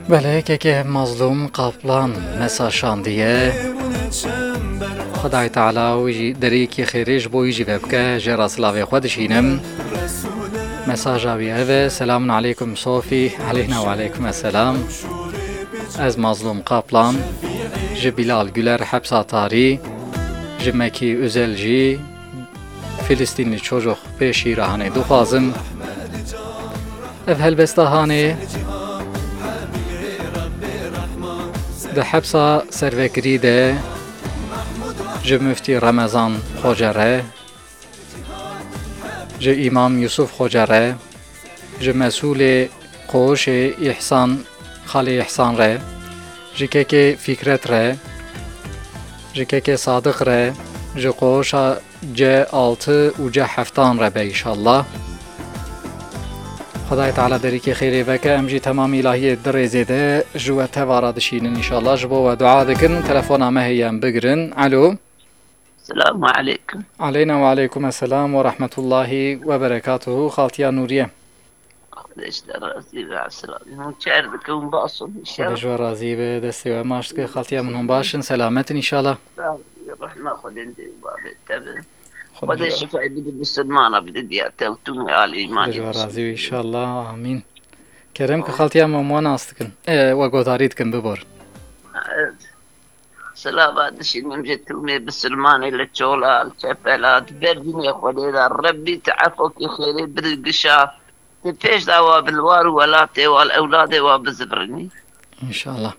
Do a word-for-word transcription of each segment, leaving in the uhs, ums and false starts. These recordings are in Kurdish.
Belê, kekê Mazlûm Qaplan mesaj şandiye. Xwedayê Teala wî jî derîkî xêrê ji bo wî jî vebike, jê re silavê xwe dişînim. Mesaja wî ev e: Selamun aleykum Sofî. Aleyna we aleykum esselam. Ez Mazlûm Qaplan, ji Bilal Güler hepsa tarî, ji Mekî Özel jî Filistînli çocuk pê şîra hanê dixwazim. Ev helbesta hanê di hepsa servekirî de ji Muftî Remezan Xoce re, ji Îmam Yusuf Xoce re, ji mesûlê Qoşê Îhsan, Xalê Îhsan re, ji kekê Fîkret re, ji kekê Sadiq re, ji qoşa C altı û C heftan re be înşallah. Xwedayê Teala derîkê xêrê veke, em jî temamî îlahiyê di rêzê de ji we teva re dişînin înşallah. Ji bo we dua dikin, telefona me heye, em bigirin. Alo. Selamu aleykum. Aleyna we aleykum esselam we rahmetullahi we berekatuhu. Xaltiya Nûriye. Xwedê ji te razî be, Esra. Hûn çer dikin, hûn baş in, Xwedê ji we razî be, destê we maç dike. Xaltiya min, hûn baş in, selamet in înşallah. Rehma Xwedê li babê te be. Xwedê Xwedê ji we şifayê bide, bisilmana bide diya te û tûmê alê Xwedê îmanê ji we razî be înşallah. Amîn. Kerem ki xaltiya min, wan nas dikin. E, we godarî dikin, bibor. Evet. Silava dişînim ji tûmê bisilmanê li Çola, li Çepela, di ber dînê Xwedê de. Rebbî tu efokî xêrê bidî gişa. Tu pêş de wa bi li war û welatê wa, li ewladê wa bizivirinî. Înşallah.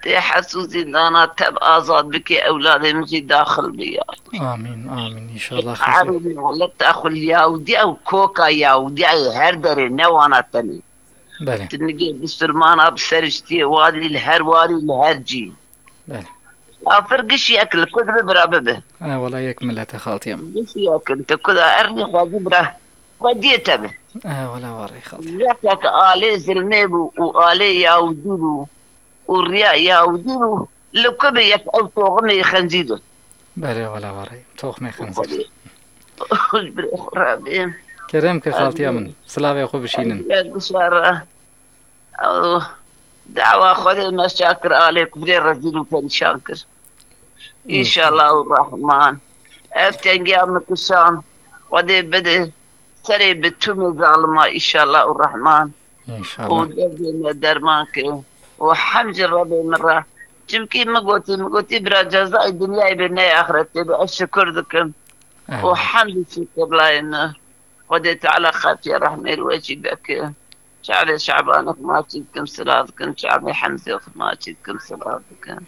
Tê hes û zîndana te bi azad bikê, ewladê min jî daxil bi ya. Amîn, amîn. Înşallah xêr. Erê milet te xwe li Yahûdiya û koka Yahûdiya yê her derê, ne wana tenê. Belê. Tu nigê bisilmana bi seriştiyê warî li her warî li her cî. Belê. Kafir gişiyek li ku dibe bira bibe. E, wela yek milete xaltiyem. Gişiyek in, tu ku da ernî xwezî bira xwediyê te be. E, wela warê xaltiyem. Yekek alê zilmê bû û alê Yahûdî bû û riya Yahûdî bû, li ku be yek ew toximê xenzîr e. Belê, wela warê. Toxmê xenzîr. Ji birê xwe re bê. Kerem ke xaltiya min. Silavê xwe bişînin. Ez gişa re. Ew dawa Xwedê me şa kir, alê ku birê rezîl û perîşan kir. Înşallah û Rehman. Ev tengiya min kişan. Xwedê bide serê bi tûmê zalima, înşallah û Rehman. Û Înşallah. Derdê me derman ke. Û hem ji Rebê min re. Çimkî min gotî, min gotî bira cezayê dinyayê be, ne axretê be. Ez şikir dikim. Û Evet. Hemdî şikir layê min. Xwedê Teala xatiye rehmê li we jî bike. Çavê Şabanê xwe maçî dikim, silav dikim. Çavê Hemzê xwe maçî dikim, silav dikim.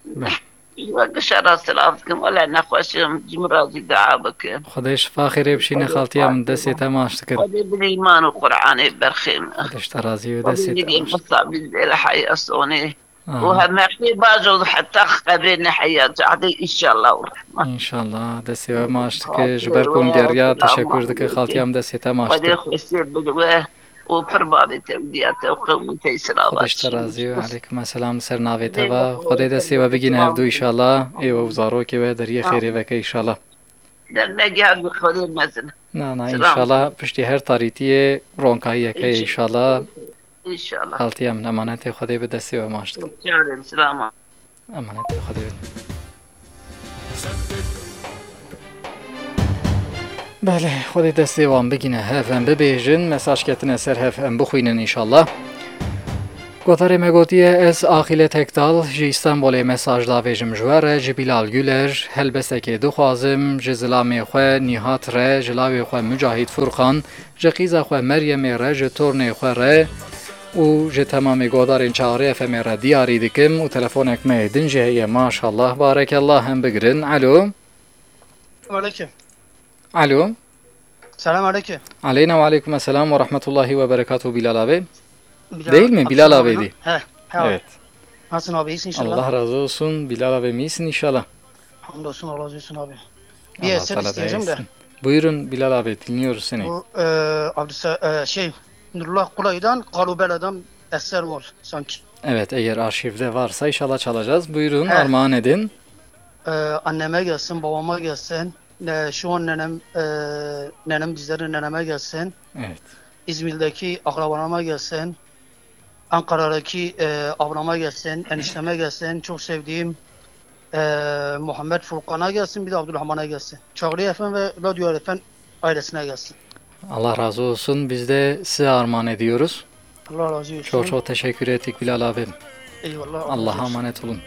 Beh. Ji we gişa re silav dikim. Wele nexweş im, ji min re jî dua bikin. Xwedê şifa xêrê bişîne xaltiya min, destê te maç dikin. Xwedê bi îman û Qur'anê berxê min. Xwedê ji te razî be, Xwedê destê te nigê maç dikin. Mistafî zêle heyasonê. Û Amin. Hemexê bajo heta qebrê neheya cadê, înşallah û rehman. Înşallah, destê we maç dike. Ji ber ku hûn geriya, teşekkür dike. Xaltiya min, destê te maç dike. Xwedê xweşiyê bide we û pir bavê te û diya te û qewmê te îsra Xwedê ji te razî be. Aleykum esselam, li ser navê te va. Xwedê destê we bigîne hevdû înşallah. Ê we û zarokê we deriyê xêrê veke înşallah. Dernek her bi Xwedê mezin. Na, na, înşallah piştî her tarîtiyê ronkayiyek heye înşallah. Înşallah. Xaltiya min, emanetê Xwedê be, destê we maç dikim. Çarê, silama. Emanetê Xwedê be. Belê, Xwedê destê wan bigîne hev, em bibêjin, mesaj ketine ser hev, em bixwînin înşallah. Gotarê me gotiye, ez Axîle Tekdal ji Îstanbolê mesaj davêjim ji we re, ji Bilal Güler helbestekê dixwazim, ji zilamê xwe Nîhat re, ji lawê xwe Mücahîd Furqan, ji qîza xwe Meryemê re, ji tornê xwe re û ji temamê godarên Çaxirê F M'ê re diyarî dikim û telefonek me yê din jî heye, maşallah, barekellah, em bigirin. Alo. Aleyküm. Alo. Selam aleyküm. Aleyna ve aleykum esselam ve rahmetullahi ve berekatuhu Bilal abi. Bilal Değil mi? Bilal abi. He, he abi. Evet. Nasılsın abi? İyisin inşallah. Allah razı olsun. Bilal abi, iyisin inşallah. Hamdolsun, Allah razı olsun abi. Bir Allah eser Teala da isteyeceğim de. Iyisin. Buyurun Bilal abi, dinliyoruz seni. Bu, e, Abdüsa-, e, şey, Nurullah Kulay'dan Kalubela'dan eser var sanki. Evet, eğer arşivde varsa inşallah çalacağız. Buyurun, he, armağan edin. Ee, anneme gelsin, babama gelsin. Ne, şu an nenem, e, nenem bizlerin neneme gelsin. Evet. İzmir'deki akrabalarıma gelsin. Ankara'daki e, ablama gelsin, enişteme gelsin, çok sevdiğim e, Muhammed Furkan'a gelsin, bir de Abdurrahman'a gelsin. Çağrı Efendi ve Radyo Efendi ailesine gelsin. Allah razı olsun. Biz de size armağan ediyoruz. Allah razı olsun. Çok çok teşekkür ettik Bilal abi. Eyvallah. Allah'a emanet olun.